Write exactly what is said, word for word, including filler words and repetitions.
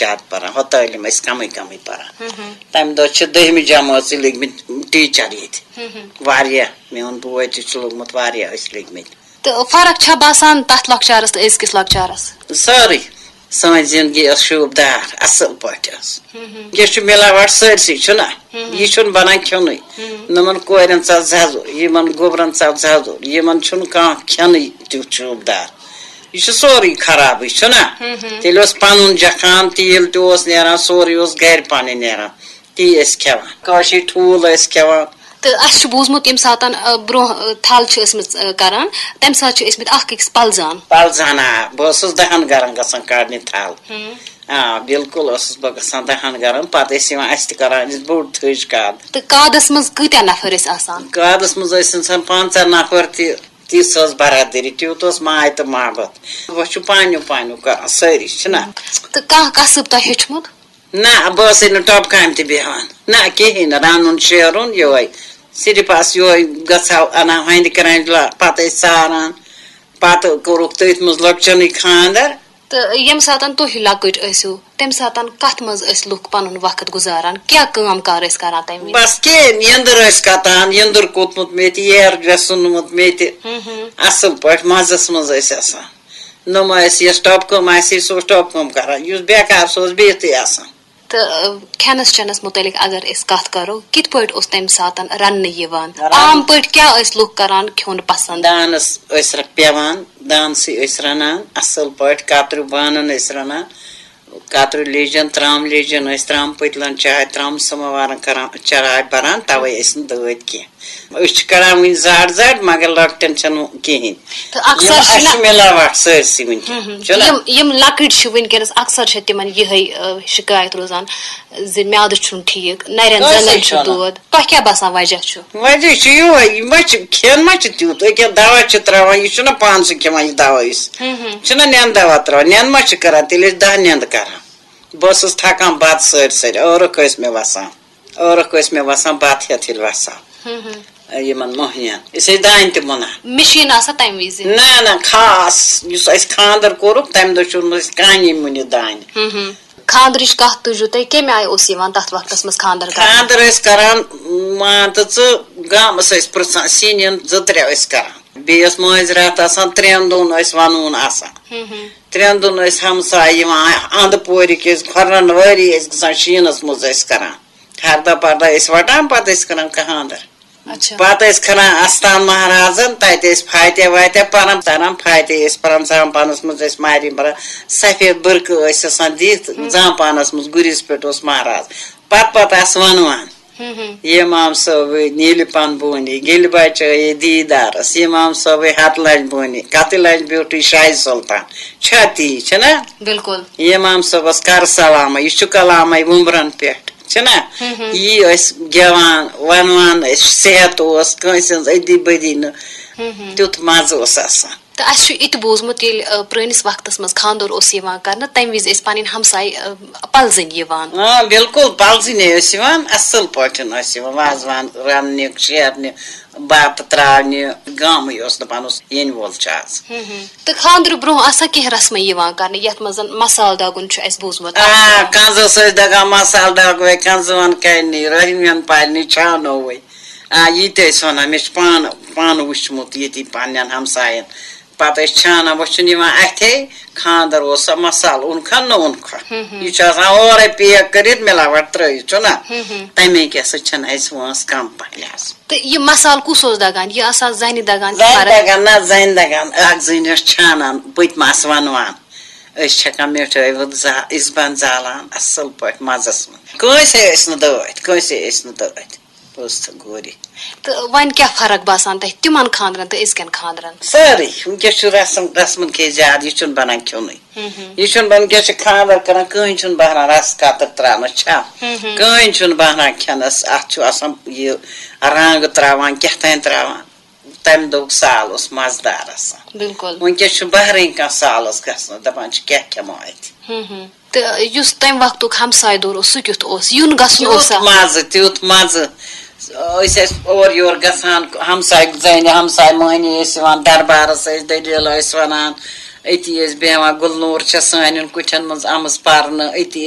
زیادٕ پَران، ہۄ تعلیٖم ٲسۍ کَمٕے کَمٕے پَران۔ تَمہِ دۄہ چھِ دٔہمہِ جمٲژٕے لٔگۍ مٕتۍ ٹیٖچَر ییٚتہِ۔ واریاہ، میون بوے تہِ چھُ لوٚگمُت، واریاہ ٲسۍ لٔگۍ مٕتۍ۔ تہٕ فرق چھا باسان تَتھ لۄکچارَس تہٕ أزکِس لۄکچارَس؟ سٲرٕے۔ سٲنۍ زِندگی ٲس شوٗبدار، اَصٕل پٲٹھۍ ٲس۔ یہِ چھُ مِلاوَٹ سٲرسٕے، چھُنہ؟ یہِ چھُنہٕ بَنان کھیوٚنُے۔ نۄمَن کورٮ۪ن ژَل زَزُر، یِمَن گوٚبرَن ژَل زَزُر، یِمَن چھُنہٕ کانٛہہ کھیوٚنُے تیُتھ شوٗبدار۔ یہِ چھُ سورُے خرابٕے، چھُنہ؟ تیٚلہِ اوس پَنُن جَکھان، تیٖل تہِ اوس نیران، سورُے اوس گَرِ پَنٕنۍ نیران۔ تی ٲسۍ کھٮ۪وان۔ کٲشِرۍ ٹھوٗل ٲسۍ کھٮ۪وان۔ تہٕ اَسہِ چھُ بوٗزمُت، ییٚمہِ ساتَن، آ، برٛونٛہہ، آ، تھل چھِ ٲسمٕژ، آ، کران، تَمہِ ساتہٕ چھِ ٲسمٕتۍ اَکھ أکِس پَلزان۔ پَلزان، آ، بہٕ ٲسٕس دَہَن گَرَن گژھان کَڑنہِ تھل۔ آ، بِلکُل ٲسٕس بہٕ گژھان دَہَن گَرَن، پَتہٕ ٲسۍ یِوان اَسہِ تہِ کَران، یُس بوٚڑ تھٔج کَد۔ تہٕ کادَس منٛز کۭتیٛاہ نفر ٲسۍ آسان؟ کادَس منٛز ٲسۍ اِنسان پنٛژاہ نفر تہِ، تِژھ ٲس برادٔری، تیوٗت اوس ماے تہٕ محبت۔ وۄنۍ چھُ پانیو پانیو کَران سٲری، چھِنہ؟ تہٕ کانٛہہ کسٕب تۄہہِ ہیوٚچھمُت؟ نہ، بہٕ ٲسٕے نہٕ ٹۄپہٕ کامہِ تہِ بیٚہوان۔ نہ، کِہیٖنۍ نہٕ، رَنُن شیرُن یِہوٚے۔ صرف آسہٕ یِہوٚے گژھاو اَنان ہۄنٛدِ کرٛنٛجہِ لا-، پَتہٕ ٲسۍ ساران، پَتہٕ کوٚرُکھ تٔتھۍ منٛز لۄکچَنٕے خانٛدر۔ تہٕ ییٚمہِ ساتَن تُہۍ لۄکٕٹۍ ٲسِو، تَمہِ ساتَن کَتھ منٛز ٲسۍ لُکھ پَنُن وقت گُزاران؟ کیٛاہ کٲم کار ٲسۍ کران تَمہِ وِزِ؟ بَس کِہیٖنۍ، یٔنٛدٕر ٲسۍ کَتان، یٔنٛدٕر کوٚتمُت مےٚ تہِ، ییر گژھُن مُت مےٚ تہِ۔ اَصٕل پٲٹھۍ مَزَس منٛز ٲسۍ آسان۔ نۄم ٲسۍ، یۄس ٹۄپہٕ کٲم آسہِ ہے، سُہ اوس ٹۄپہٕ کٲم کران، یُس بیکار، سُہ اوس بِہتھٕے آسان۔ تہٕ، آ، کھٮ۪نَس چٮ۪نَس مُتعلِق اگر أسۍ کَتھ کَرو، کِتھ پٲٹھۍ اوس تَمہِ ساتَن رَننہٕ یِوان؟ رَننہٕ۔ عام پٲٹھۍ کیٛاہ ٲسۍ لُکھ کَران کھیوٚن پَسنٛد؟ دانَس ٲسۍ رَ-، پٮ۪وان، دانسٕے ٲسۍ رَنان، اَصٕل پٲٹھۍ کَتریوٗ بانَن ٲسۍ رَنان، کَتریوٗ لیجَن، ترٛامہٕ لیجَن ٲسۍ، ترٛامہٕ پٔتلَن چاے، ترٛامہٕ سَماوارَن کران، چراے بَران، تَوَے ٲسۍ نہٕ دٲدۍ کینٛہہ۔ أسۍ چھِ کران وٕنہِ زَڈ زَڈ، مگر لۄکٹٮ۪ن چھَنہٕ کِہیٖنۍ۔ تہٕ اَکثر یِم چھِ اَسہِ نہ چھِ مِلاوَٹھ سٲرسٕے وٕنکٮ۪ن، ہُم، ہُم۔ چھُنہ؟ یِم، یِم لۄکٕٹۍ چھِ وٕنکٮ۪نَس، اَکثر چھِ تِمَن یِہوٚے، آ، شِکایت روزان زِ میٛادٕ چھُنہٕ ٹھیٖک، نَرٮ۪ن کٲنٛسے زَنٛگَن چھُ چھُنہٕ۔ دود۔ تۄہہِ کیٛاہ باسان وجہ چھُ؟ وجہ چھُ یِہوٚے، یہِ ما چھِ، کھٮ۪ن ما چھِ تیُتھ؟ أکیٛاہ دوا چھِ ترٛاوان، یہِ چھُنہ پانسٕے کھٮ۪وان یہِ دوا یُس؟ ہُم، ہُم۔ چھُنہ نٮ۪نٛدٕ دوا ترٛاوان؟ نٮ۪نٛدٕ ما چھِ کران؟ تیٚلہِ ٲسۍ دَہ نٮ۪نٛدٕ کران۔ بہٕ ٲسٕس تھکان بَتہٕ سٲرۍ سٲرۍ، ٲرَکھ ٲسۍ مےٚ وَسان۔ ٲرَکھ ٲسۍ مےٚ وَسان بَتہٕ ہٮ۪تھ ییٚلہِ وَسان۔ یِمَن مۄہنِیَن۔ أسۍ ٲسۍ دانہِ تہِ مُنان۔ مِشیٖن آسان تَمہِ وِزِ؟ نہ، نہ، خاص۔ یُس اَسہِ خانٛدَر کوٚرُکھ، تَمہِ دۄہ چھُنہٕ أسۍ کانٛہہ مُنہِ دانہِ۔ خانٛدرٕچ کَتھ تُجِو تُہۍ، کَمہِ آیہِ اوس یِوان تَتھ وقتَس منٛز خانٛدَر کرنہٕ؟ خانٛدَر ٲسۍ کران، مان تہٕ ژٕ، گامَس ٲسۍ پرٛژھان، سِنٮ۪ن زٕ ترٛےٚ ٲسۍ کران۔ بیٚیہِ ٲس مٲنٛزِ راتھ آسان، ترٛٮ۪ن دۄہَن ٲسۍ وَنوُن آسان۔ ترٛٮ۪ن دۄہَن ٲسۍ ہمساے یِوان، اَنٛدٕ پورِکۍ ٲسۍ، کھۄرَن وٲری ٲسۍ گژھان، شیٖنَس منٛز ٲسۍ کران۔ ہردہ پردہ ٲسۍ وَٹان، پَتہٕ ٲسۍ کران خانٛدر۔ اچھا۔ پَتہٕ ٲسۍ کھَنان اَستان مہرازَن، تَتہِ ٲسۍ فاتحہ واتحہ پَران، تَران فاتحہ ٲسۍ پَران، زامپانَس منٛز ٲسۍ ماہرِنۍ پَران، سفید بُرقہٕ ٲسۍ آسان دِتھ، زامپانَس منٛز گُرِس پٮ۪ٹھ اوس مہراز۔ پَتہٕ پَتہٕ آسہٕ وَنوان، یِمام صٲبٕے نیٖلہِ پَن بونہِ، گیٚلہِ بَچٲیے دیٖدارَس، یِمام صٲبٕے ہَتہٕ لَچھ بونہِ، کَتہٕ لَچھ بیوٗٹھٕے شاہہِ سُلطان۔ چھا تی، چھِنہ؟ بِلکُل۔ یِمام صٲبَس کَر سلامہ، یہِ چھُ کلامَے وُمبرَن پٮ۪ٹھ۔ چھِنہ؟ یی ٲسۍ گٮ۪وان، وَنوان ٲسۍ، صحت اوس کٲنٛسہِ ہٕنٛز أدی بٔدی نہٕ۔ تیُتھ مَزٕ اوس آسان۔ تہٕ اَسہِ چھُ یہِ تہِ بوٗزمُت، ییٚلہِ، آ، پرٛٲنِس وقتَس منٛز خانٛدر اوس یِوان کرنہٕ، تَمہِ وِزِ ٲسۍ پَنٕنۍ ہمساے، آ، پَلزٕنۍ یِوان۔ آ، بِلکُل، پَلزٕنۍ ٲسۍ یِوان، اَصٕل پٲٹھۍ ٲسۍ یِوان، وازوان رَننہِ، شیرنہِ، بَتہٕ ترٛاونہِ، گامٕے اوس نہٕ پَنُن یِنہٕ وول چھُ آز۔ تہٕ خانٛدرٕ برٛونٛہہ آسان کینٛہہ رسمہٕ یِوان کرنہٕ، یَتھ منٛز زَن مسالہٕ دَگُن چھُ اَسہِ بوٗزمُت۔ آ، کَنزَس ٲسۍ دَگان مسالہٕ، دَگوے کَنزٕ وَن کَنہِ، رۄہنہِ وَن پَلنہِ چھانووے۔ آ، یہِ تہِ ٲسۍ وَنان، مےٚ چھُ پانہٕ، پانہٕ وٕچھمُت ییٚتی پنٛنٮ۪ن ہمسایَن۔ پَتہٕ ٲسۍ چھانان، وۄنۍ چھُنہٕ یِوان اَتھے، خانٛدر اوسا مسالہٕ اوٚنکھا نہٕ اوٚنکھا۔ یہِ چھُ آسان اورَے پیک کٔرِتھ، مِلاوَٹ ترٛٲیِتھ، چھُنہ؟ تَمے کیٛاہ سا چھَنہٕ اَسہِ وٲنٛس کَم پَہلہِ آسان۔ تہٕ یہِ مسالہٕ کُس اوس دَگان؟ یہِ آسان زَنہِ دَگان کِنہٕ زَنہِ مَردَن؟ دَگان، نہ، زَنہِ دَگان، اَکھ زٔنۍ ٲس چھانان، بہٕ تہِ مَس وَنوان۔ أسۍ چھَکان مِٹھٲے وٕژھ زا-، اِزبَنٛد زالان اَصٕل پٲٹھۍ مَزَس منٛز۔ کٲنٛسے ٲسۍ نہٕ دٲدۍ، کٲنٛسے ٲسۍ نہٕ دٲدۍ۔ پوٚز تہٕ گوٚو۔ تہٕ وۄنۍ کیٛاہ فرق باسان تۄہہِ تِمَن خانٛدرَن تہٕ أزکٮ۪ن خانٛدرَن؟ سٲرٕے۔ وٕنکٮ۪س چھُ رسم، رسمَن کھے زیادٕ، یہِ چھُنہٕ بَنان کھیوٚنُے۔ یہِ چھُنہٕ بَنان، وٕنکٮ۪س چھِ خانٛدر کَران، کٕہٕنۍ چھُنہٕ بہران رَس قطر ترٛاونَس چھا؟ کٕہٕنۍ چھُنہٕ بہران کھٮ۪نَس، اَتھ چھُ آسان یہِ رنٛگ ترٛاوان، کیٛاہ تام ترٛاوان۔ تَمہِ دۄہُک سال اوس مَزٕدار آسان۔ بِلکُل۔ وٕنکٮ۪س چھُ بہرٕے کانٛہہ سالَس گژھنَس، دَپان چھِ، کیٛاہ کھٮ۪مو اَتہِ؟ تہٕ یُس تَمہِ وقتُک ہمسایہِ دور اوس، سُہ کیُتھ اوس؟ یُن گژھُن تیُتھ اوسا؟ مَزٕ، تیُتھ مَزٕ۔ أسۍ ٲسۍ اورٕ یورٕ گژھان، ہمسایہِ زَنہِ، ہمسایہِ مٔہنی ٲسۍ یِوان، دربارَس ٲسۍ دٔلیٖل ٲسۍ وَنان، أتی ٲسۍ بیٚہوان۔ گُلنوٗر چھےٚ سانٮ۪ن کُٹھٮ۪ن منٛز آمٕژ پَرنہٕ، أتی